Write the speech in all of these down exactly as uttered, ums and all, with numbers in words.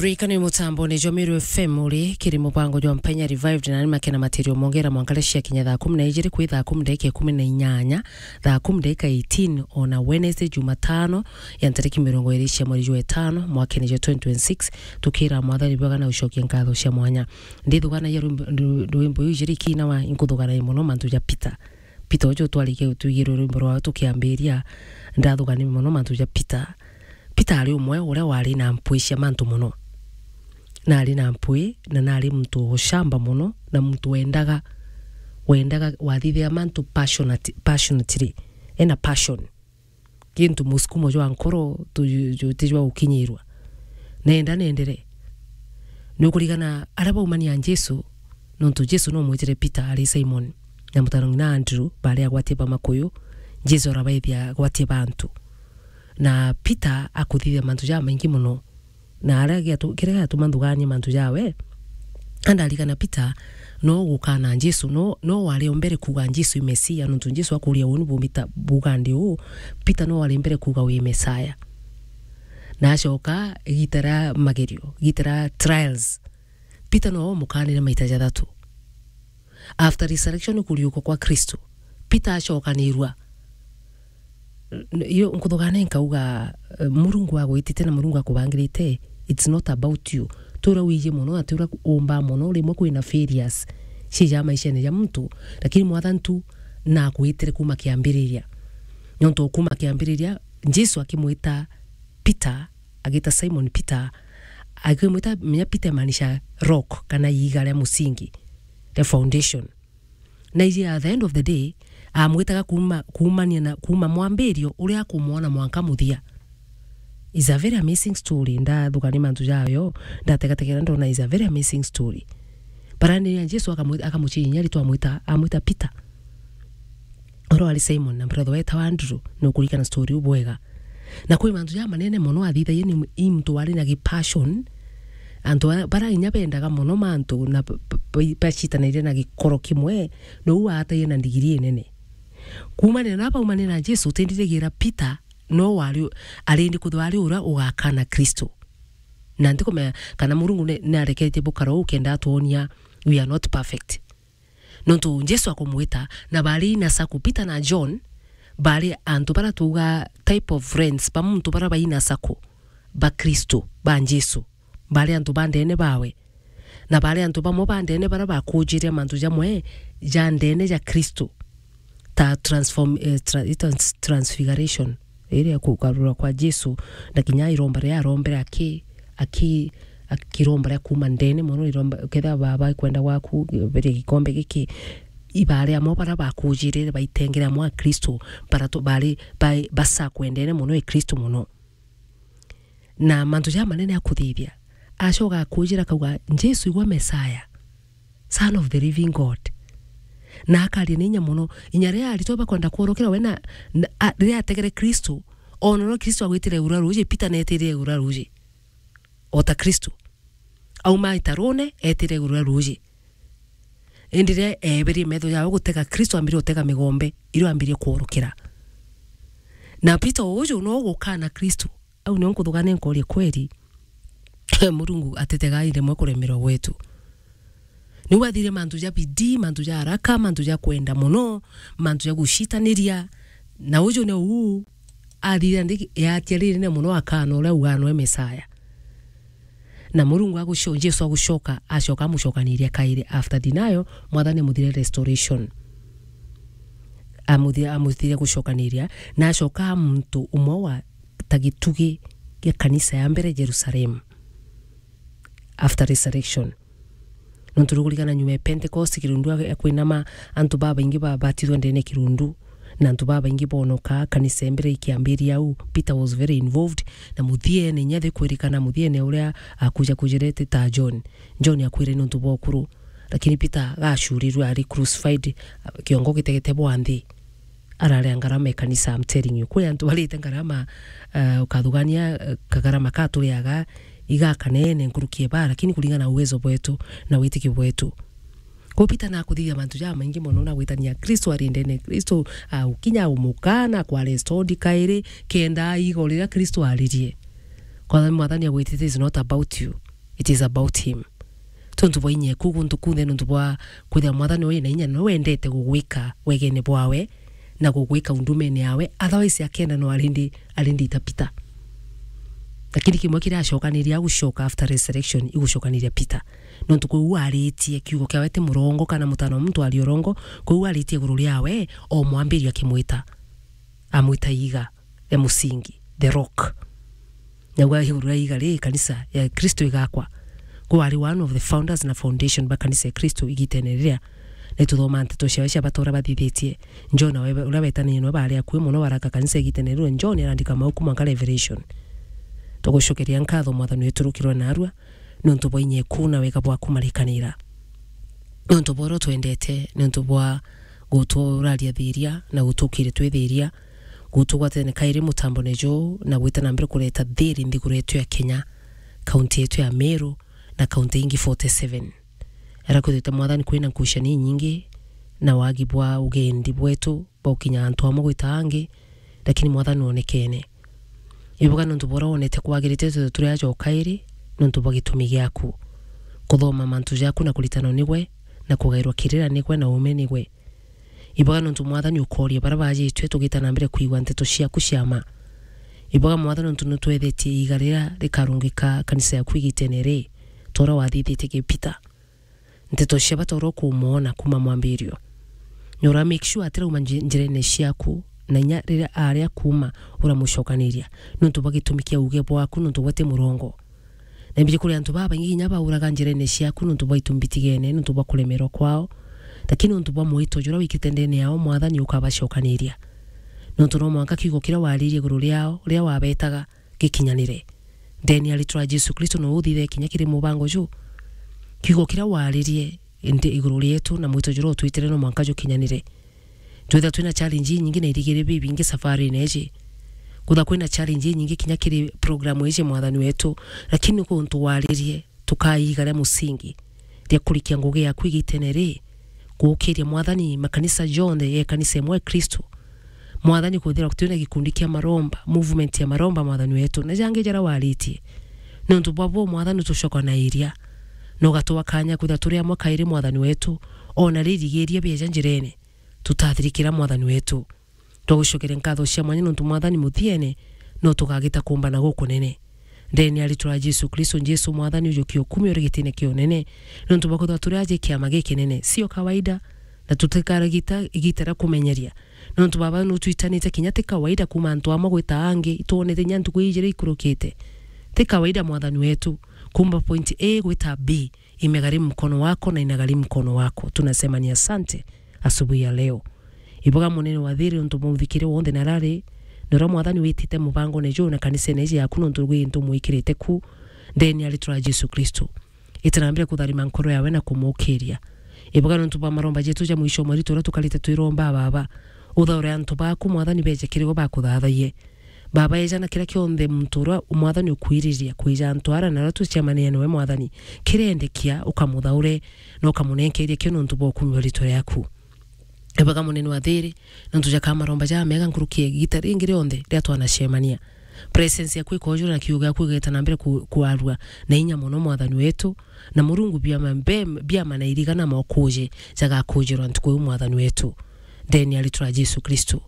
Rikani mutamboni jwa Meru F M uri kiri mubango jwa Mpenya Revived, na ni makena matirio mongera mwanka ria cia kinya thaa kumi na ijiri kwi thaa kumi ndagika ikumi na inyanya, thaa kumi ndagika eighteen, ona Wednesday, Jumatano, ya ntariki mirongo iri cia mweri jwa itano, mwakene jwa twenty twenty-six, tukira Mwathani bwega na ucokia nkatho cia mwanya. Ndithuganagia rwimbo, rwimbo iu ijiri kinawa, inkuthuganagia mono mantu ja Peter. Peter uju twarikia twigirwe rwimbo rwawe tukiambiria, ndathugania mono mantu ja Peter. Peter ari umwe uria wari na mpwi cia mantu mono. Na ari na mpwi, na nari muntu ucamba mono, na muntu wendaga, wendaga wathithia mantu passionate-, passionately. Ena passion. Gintu musukumo jwa nkoro tu-, ju-, ti jwa gukinyirwa. Nenda nendere. Nukurigana aria baumania Jesu, nontu Jesu no mwitire Peter ari Simon, na mutano ng'ina Andrew, bari agwatie ba makuyu, Jesu arabaithia agwatie bantu. Na Peter akuthithia mantu jamaingi mono. Na aria giatu-, kiria giatuma nthuganie mantu jawe, andarikana Peter no gukana Jesu, no, no wari o mbere kuuga Jesu i Mesia, nontu Jesu akuria uu ni bumita bugandi uu, Peter no wari mbere kuuga wi Mesaya. Na acoka igita ria magerio, igita ria trials, Peter no umukanire maita jathatu. After resurrection, kuriuka kwa Kristo, Peter acokanirua. N-, iyo nkuthugane nkauga, eh, Murungu agwitite na Murungu akubangirite, it's not about you. Ti uria wiji mono na ti uria umba mono, rimwe kwina failures cija maishene ja muntu, lakini Mwathani tu nakwitire kuma kiambiriria. Nontu kuma kiambiriria, Jesu akimwita Peter, agita Simon Peter, akimwita, menya Peter imaanisha rock, kana iiga ria musingi, ria foundation. Na iji at the end of the day, amwitaga kuma, kumania na, kuma mwambirio uria akumwona mwanka muthia. It's a very amazing story. Ndathugania mantu jayo, ndategategera ndona it's a very amazing story. Barani ya Jesu akamwita, akamuchinya ritwa amwita, amwita Peter. Oro ari Simon na brother wetawa Andrew, nukurikana story u bwega. Na kwi mantu ja manene mono athithagia ni i muntu wari na gipassion. Antu a-, bara inya bendaga mono mantu na b-, b-, b-, bacitanairie na gikoro kimwe, nou aataie na ndigiri inene. Kuumanira na baumanira na Jesu, utindirigira Peter no wari u-, arindi kuthwa ari uria ugakana Kristo. Na ntikumenya kana Murungu ni, ni areketie bukara uu kenda atwonia we are not perfect. Nontu Jesu akumwita, na bari ina circle, Peter na John bari antu bara tuuga type of friends ba muntu bara baina circle ba Kristo, ba Jesu. Bari antu ba ndene bawe. Na bari antu bamwe ba ndene bara bakujire mantu jamwe ja ndene ja Kristo. Ta transform-, eh, tra-, ita-, transfiguration. Iria kugarura kwa Jesu, na kinya iromba riria arombere aki-, aki-, akiromba ria kuuma ndene mono, iromba, kethira Baba, ikwenda gwaku, beria gikombe giki. Ibari amwe bara bakujirire baitengere amwe a Kristo, bara tu-, bari ba-, basakwendene mono e Kristo mono. Na mantu ja manene akuthithia, acoka akujira akauga, "Jesu igwe Messiah, Son of the living God." Na akaria na inya mono, inya riria aritwa bakwenda kworokera we na, na, a-, riria ategere Kristo, ona uria Kristo agwitire iguru ria ruuji, Peter neetire iguru ria ruuji. O ta Kristo. Auma itarune, eetire iguru ria ruuji. Indi riria eeberie metho jawe gutega Kristo, ambirie gutega migombe, irio ambirie kworokera. Na Peter uju no gukana Kristo. Au nio nkuthugania nkoria kweri, Murungu atitegaga rimwe kuremerwa gwetu. Niu athire mantu ja bidii, mantu ja haraka, mantu ja kwenda mono, mantu ja gucitaniria. Na uju ni uu athire ndi yatia ririne mono akana uria uganwe Mesaya. Na Murungu aguco-, Jesu agucoka, acoka amucokaniria kairi after denial, Mwathani amuthire restoration. Amuthi-, amuthire gucokaniria, na acoka muntu umwe wa ta gitugi gia kanisa ya mbere Jerusalem after resurrection. Nontu nukurikana nyuma ya Pentecost, kirundu ya kwinama, antu babaingi babatithwa ndene kirundu, na antu babaingi bonoka, kanisa ya mbere ikiambiria au, Peter was very involved, na muthiene, inya thikwirikana muthiene uria akuja kujirete ta John. John akwire nontu bwa ukuru, lakini Peter gacurirwe ari crucified, kiongo gitegete bwa nthi. Araria ngarama e kanisa, I'm telling you. Kwi antu barite ngarama, eh, ukathugania, eh, kagarama ka turiaga iga kanene nkuruki e baa, lakini kuringana na uwezo bwetu na witikio bwetu. Kwou Peter nakuthithia mantu jamaingi mono na gwitania Kristo ari ndene, Kristo aukinya umukana kwa restored kairi, kenda igo riria Kristo aririe. Kwa Mwathani agwitite is not about you. It is about him. Tontu bwa inya eku guntu kunthe, nontu bwa kwithira Mwathani wi na inya, no wendete gugwika wegene bwawe na gugwika undumene yawe, otherwise akenda no arindi, arindi itapita. Lakini kimwe kiracokaniria, agucoka after resurrection, igucokaniria Peter. Nontu kwou aritie kiugo kiawe ti murongo, kana mutano wa muntu ari urongo, kwou aritie iguru riawe, o mwambirio akimwita, amwita iga ria musingi, the rock. Nyagwa iguru ria iga ri kanisa ya Kristo igakwa. Kwou ari one of the founders na foundation ba kanisa ya Kristo igitene riria. Na ituthoma nteto ciawe cia bata uria bathithitie. John we-, uria wetanire nwe bari akui muno baraka kanisa igitene riu. John arandika mau kuma nka Revelation. Tugucokeria nkatho Mwathani wetu rukirwe narua, nontu bwa inya eku na wega bwaku marikanira. Nontu bwa uria twendete, nontu bwa guturaria thiria na gutukire twithiria, gutugwatene kairi mutambone juu na gwita na mbere kureta thiri nthiguru yetu ya Kenya, kaunti yetu ya Meru na kaunti ingi forty seven. Arakwithite Mwathani kwina nkucanio inyingi na wagi bwa ugendi bwetu bwa gukinya antu amwe gwita angi, lakini Mwathani wonekene. Ibuga nontu bwa uria wonete kwagirite twithwe turi aja o kairi nontu bwa gitumi giaku. Kuthoma mantu jaku na kuritanwa nigwe, na kugairwa kirira nigwe na uume nigwe. Ibuga nontu Mwathani ukooria baria bajitwe tugita na mbere kwigua nteto ciaku cia ma. Ibuga Mwathani nontu nutwethetie iga riria rikarungika kanisa yaku igitene ri, ta uria wathithitie ki Peter. Nteto cia bata uria ukumwona kuma mwambirio. Na ura make sure atirauma nji-, njirene ciaku, na inya riria aria kuma uramucokaniria, nontu bwa gitumi kia uuge bwaku, nontu gwe ti murongo. Na imbiji kuri antu babaingi kinya bauraga njirene ciaku, nontu bwa itu mbitigene, nontu bwa kuremerwa kwao, lakini nontu bwa mwito juria wikite ndene yao, Mwathani ukabacokaniria. Nontu no mwanka kiugo kiria waririe iguru riao, riria wabetaga, gikinyanire. Ndeni ya ritwa ria Jesu Kristo no uthithe kinya kiri mubango ju. Kiugo kiria waririe ndi iguru rietu na mwito juria utwitire no mwanka jukinyanire. Twitha twina challenge inyingi na irigiri bibingi safarine iji. Kutha kwina challenge inyingi kinya kiri program iji, Mwathani wetu, lakini kuntu waririe, tukaiga ria musingi ria kurikia ngugi yaku igitene ri, gukiria Mwathani makanisa jonthe ya kanisa imwe ya Kristo. Mwathani, kwithirwa twina gikundi kia maromba, movement ya maromba, Mwathani wetu, na jangi jaria waritie. Nontu bwa bo, Mwathani, tucokanairia na ugatua kanya kwithirwa turi amwe kairi, Mwathani wetu, ona ririgiria bieja njirene, tutathirikira, Mwathani wetu. Twagucokeria nkatho cia mwanya nontu Mwathani muthiene no tugagita kumbana gukunene. Ndeni ya ritwa ria Jesu Kristo, Jesu Mwathani, ujukie ukumi uri gitine kia unene, nontu bwa kwithirwa turi aja kiama gikinene, sio kawaida, na tutikaragita igita ria kumenyeria. Nontu Baba nutwitanite kinya ti kawaida kuma antu amwe gwita angi, itwonete kinya ntuku ijiri ikurukite. Ti kawaida, Mwathani wetu, kuma point A gwita B, imegharimu mkono wako na inagharimu mkono wako. Tunasemania asante asubuhi ya leo. Ibuga munene wa thiri untu muthikire wonthe na rari, na uria Mwathani witite mubangone juu na kanisene iji yaku nontu gwi ntu mwikirite ku, ndeni ya ritwa ria Jesu Kristo. Itanambire kutharima nkoro yawe na kumukiria. Ibuga nontu bwa maromba jetu ja mwisho mweri turia tukarite twiromba, Baba. Uthaure antu baku, Mwathani, beje kiri we bakuthathaie. Baba, eja na kiria kionthe muntu uria Mwathani ukwiriria kwija antu ara na aria tucemania nawe, Mwathani, kirendekia, ukamuthaure na ukamunenkeria kio nontu bwa ukumi wa ritwa riaku. Ebaga munene wa thiri, nontu jaka maromba ja mega nkuruki ya igita ringi rionthe riria twanacemania. Presence yaku ikojura na kiugo giaku gigeta na mbere ku-, kwarua na inya mono, Mwathani wetu, na Murungu, biama mbe-, biama na iriga na mokuje jagakujirwa ntuku iu, Mwathani wetu. Ndeni ya ritwa ria Jesu Kristo.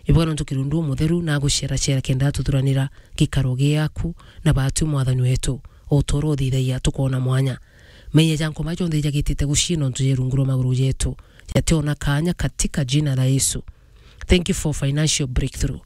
Ibuga nontu kirundu umutheru na aguceracera kenda atuthuranira gikaro giaku na batu, Mwathani wetu, o ta uria uthithagia tukoona mwanya. Maiya ja nkoma jonthe jagitite gucii nontu je rungu rwa maguru jetu, jationa kaanya katika jina la Yesu. Thank you for financial breakthrough.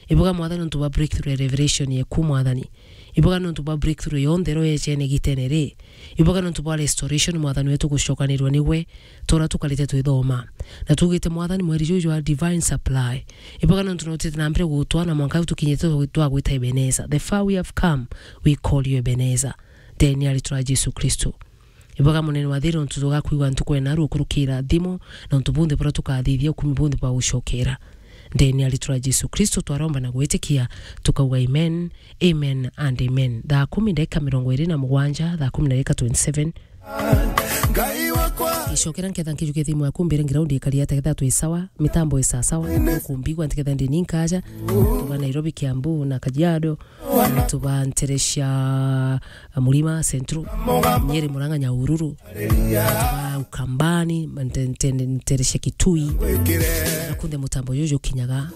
Ibuga Mwathani nontu bwa breakthrough ya revelation yeku, Mwathani. Ibuga nontu bwa breakthrough yonthe ro yechene gitene ri. Ibuga nontu bwa restoration, Mwathani wetu, gucokanirwa niwe, ta uria tukarite twithoma. Na tugite, Mwathani, mweri juju jwa divine supply. Ibuga nontu nutite na mbere gutwara na mwanka tukinyite twa-, twagwita Ebeneza. The far we have come, we call you Ebeneza. Ndeni ya ritwa ria Jesu Kristo. Ibuga munene wa thiri nontu tugakwigua ntuku ena ruo kurukira thimu, na untu bunthe buria tukathithia ukumi bunthe bwa gucokera. Ndeni ya ritwa ria Jesu Kristo twaromba na gwitikia, tukauga amen, amen and amen. Thaa kumi ndagika mirongo iri na mugwanja, thaa kumi na ndagika twenty-seven, Ngicokera nketha nkijukia thimu yaku mbire ground ikari atia ketha twi sawa, mitambo i sawa sawa, ukumbigua ntiketha ndi ni nkaja, tuba Nairobi, Kiambu na Kajiado, tuba ntere cia Murima Central, Nyeri, Murang'a, Nyahururu, tuba Ukambani, nte-, nte-, ntere cia Kitui, na kunthe mutambo juju jukinyaga.